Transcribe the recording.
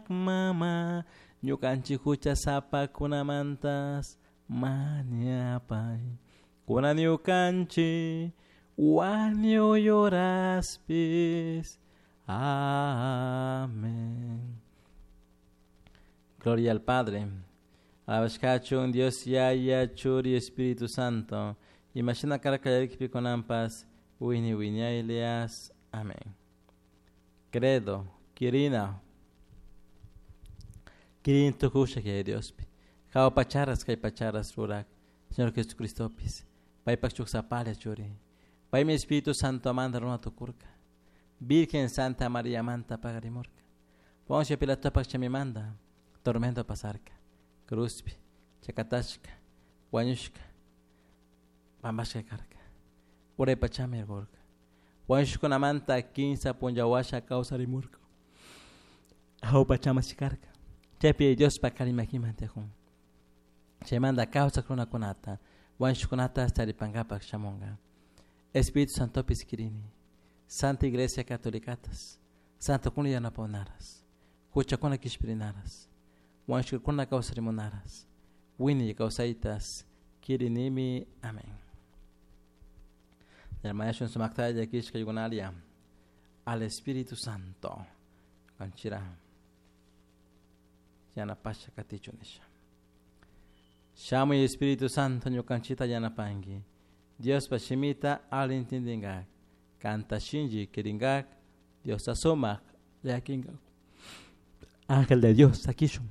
Mama, ñukanchik huchasapakunamantas mañapay. Kunan ñukanchik wañuy horaspis. Amén. Gloria al Padre. Alabashkachun Dios Yaya, Churi, Espíritu Santo. Imashina karka kunanpas, wini wiñaylias. Amén. Credo, Quirina. Kirin tukusha que Diospi. Jao pacharas kay pacharas rurak. Señor Jesucristopis. Paypak chuksapalla churi. Paymi Espíritu Santo manda runa tukurka. Virgen Santa María manta pagarimurka. Poncio Pilatopak chamimanda. Tormento pasarka. Cruzpi. Chakatashka. Wañushka. Pambashka karka. Uray pachami ergorka. Wañushkunamanta kinsa punllawasha kawsarimurka. Jao pachama shikarka. Chaypi Diospa karimakiman tiyakun. Chaymanta kawsak runakunata, wañushkunata taripankapak shamunka. Espíritu Santopis kirini. Santa Iglesia Catolicatas. Santokuna yanapakunaras. Huchakuna kishpirinaras. Wañushkakuna kawsarimunaras. Wiñay kawsaytas kirinimi. Amén. Yarmayashun sumaktalla llakishka al Espíritu Santo. Kanchira. Yanapasha katichu nisha. Shamuy Espíritu Santo ñukanchita yanapanki. Diospa shimita ali intindingak. Kanta shinchi kiringak. Diosta sumak llakinkak. Ángel de Dios, sakishun.